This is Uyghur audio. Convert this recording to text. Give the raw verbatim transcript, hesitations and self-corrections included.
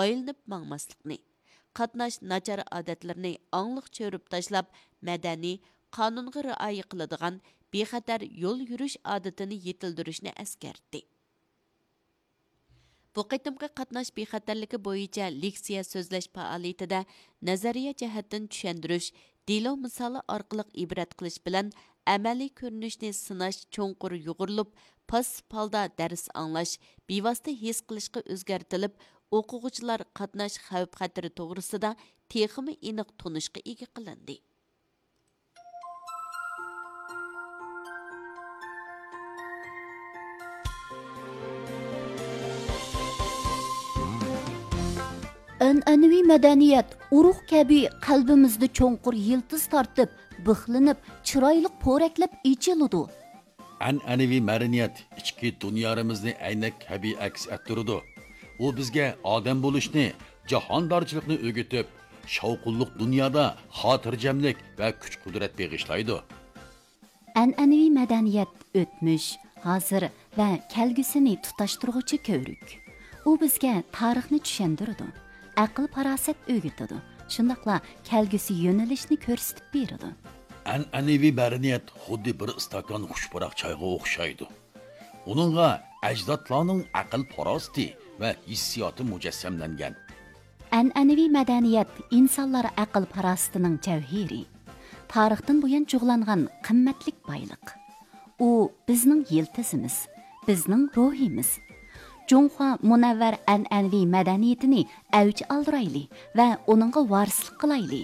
ئايلىنىپ ماڭماسلىقنى، قاتناش ناچار ئادەتلىرىنى ئاڭلىق چۆرۈپ تاشلاپ، مەدەنىي، قانۇنغا رىئايە قىلىدىغان بىخەتەر يول يۈرۈش ئادىتىنى يېتىلدۈرۈشنى ئەسكەرتتى. بۇ قېتىمقى قاتناش بىخەتەرلىكى بويىچە لېكسىيە سۆزلەش پائالىيىتىدە نەزەرىيە جەھەتتىن چۈشەندۈرۈش، دېلو مىسالى ئارقىلىق ئىبرەت قىلىش بىلەن ئەمەلىي كۆرۈنۈشنى سىناش چوڭقۇر يۇغۇرۇلۇپ، پاسسىپ ھالدا دەرس ئاڭلاش، بىۋاسىتە ھېس قىلىشقا ئۆزگەرتىلىپ، ئوقۇغۇچىلار قاتناش خەۋپ-خەتىرى توغرىسىدا تېخىمۇ ئېنىق تونۇشقا ئىگە قىلىندى. ئەنئەنىۋى مەدەنىيەت ئۇرۇق كەبى قەلبىمىزدە چوڭقۇر يىلتىز تارتىپ، بىخلىنىپ، چىرايلىق پورەكلەپ ئېچىلىدۇ. ئەنئەنىۋى مەدەنىيەت ئىچكى دۇنيارىمىزنى ئەينەك كەبى ئەكس ئەتتۈرىدۇ. ئۇ بىزگە ئادەم بولۇشنى، جاھاندارچىلىقنى ئۆگىتىپ، شاۋقۇنلۇق دۇنيادا خاتىرجەملىك ۋە كۈچ-قۇدرەت بېغىشلايدۇ. ئەنئەنىۋى مەدەنىيەت ئۆتمۈش، ھازىر ۋە كەلگۈسىنى تۇتاشتۇرغۇچى كۆۋرۈك. ئۇ بىزگە تارىخنى چۈشەندۈرىدۇ، ئەقىل-پاراسەت ئۆگىتىدۇ، شۇنداقلا كەلگۈسى يۆنىلىشنى كۆرسىتىپ بېرىدۇ. ئەنئەنىۋى مەدەنىيەت خۇددى بىر ئىستاكان خۇش پۇراق چايغا ئوخشايدۇ. ئۇنىڭغا ئەجدادلارنىڭ ئەقىل-پاراسىتى ۋە ھېسسىياتى مۇجەسسەملەنگەن. ئەنئەنىۋى مەدەنىيەت ئىنسانلار ئەقىل-پاراسىتىنىڭ جەۋھىرى، تارىختىن بۇيان جۇغلانغان قىممەتلىك بايلىق. ئۇ بىزنىڭ يىلتىزىمىز، بىزنىڭ روھىمىز. جۇڭخۇا مۇنەۋۋەر ئەنئەنىۋى مەدەنىيىتىنى ئەۋج ئالدۇرايلى ۋە ئۇنىڭغا ۋارىسلىق قىلايلى.